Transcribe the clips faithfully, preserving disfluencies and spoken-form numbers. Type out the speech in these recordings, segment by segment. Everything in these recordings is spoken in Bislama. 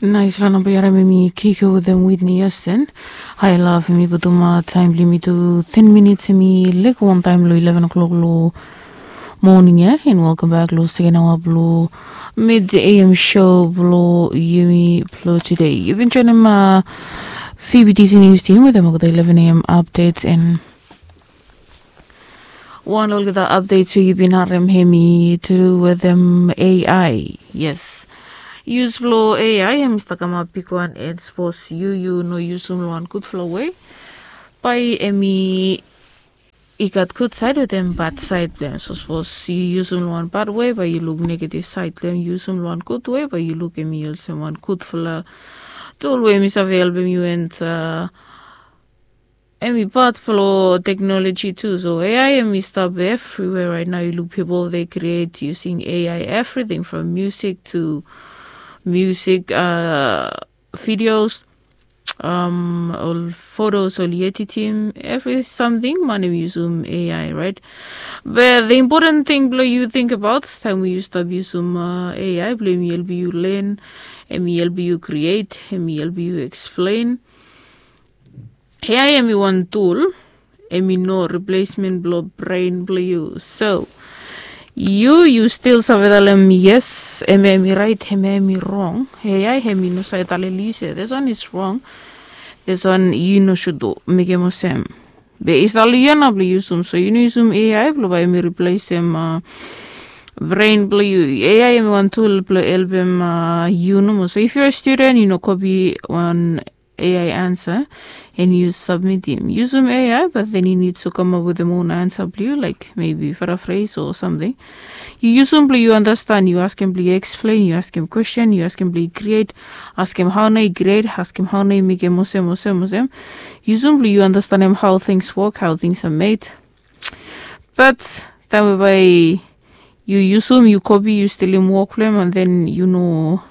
Naisfala namba ya, hemi Kiko wetem Whitney Houston. Hai love, hemi putum taem blong yumi tu ten minits, hemi lego wantaem long eleven o'clock long moning ya. And welcome back long seken aoa blong mid A M show blong yumi blong tude. Yu bin joinim Phoebe D C News Team wetem olgeta eleven A M updates and wan olgeta updates we yu bin harem hemi tu wetem A I. Yes. Yus blong A I hemi stap kamap bigwan, and sapos yu yu no yusum long wan gudfala we, bae hemi i gat gud saed wetem bad saed blong hem. So sapos yu yusum long wan bad we, bae yu luk negative saed blong hem. Yusum long wan gud we, bae yu luk hemi olsem wan gudfala tul we hemi save helpem yu, and hemi pat blong teknoloji tu. So A I hemi stap evriwea raet nao. Yu luk pipol, they create using A I everything from music to music, videos, ol photos, ol editing, evri samting man hemi yusum A I, raet? Be the important thing blong yu think about taem we yu stap yusum A I blong hemi helpem yu len, hemi helpem yu create, hemi helpem yu explain. A I hemi wan tul, hemi no replacement blong brain blong yu. So yu yu stil save talem yes, hemia hemi raet, hemia hemi rong. A I hemi no save talem yu se this one is wrong, this one yu no should do, mekem olsem. Be i stap long yu ya nao blong yusum. So yu no yusum A I blong bae hemi replacem brain blong yu. A I hemi wan tul blong helpem yu nomo. So if you're a student, yu no kopi wan A I ansa and yu submitim, yusum A I, but then yu nid tu kamap wetem own ansa blong yu, like maybe paraphrase o samting. Yu yusum blong yu andastan, yu askem blong yu explain, yu askem kwesten, yu askem blong yu create, askem hao nao yu create, askem hao nao yu mekem olsem, olsem, olsem. Yusum blong yu andastanem hao things work, hao things are made. But taem we bae yu yusum, yu kopi, yu stilim wok blong hem, and then yu no,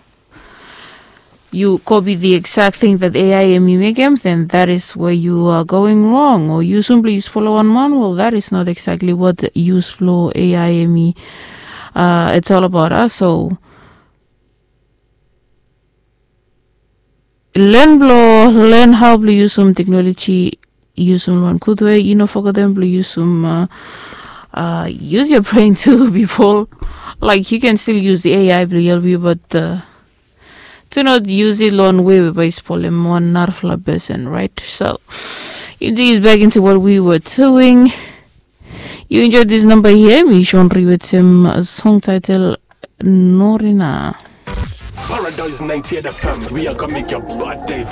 yu kopi the exact thing that A I hemi mekem, then that is where you are going wrong. O yusum blong yu save folem wan man, well, that is not exactly what yus blong A I hemi, it's all about. So len blong len hao blong yusum teknoloji, yusum long wan gud we. Yu no fogetem blong yusum, use your brain tu, pipol. Like, yu ken stil yus A I blong helpem yu, but do not use it long wan we we bae i spolem wan narafala pesen, raet? So indeed, back into what we were doing. Yu enjoy this number here, hemi Sean Ree wetem song title Norina. Paradise ninety-eight F M, we are gonna make your bad day feel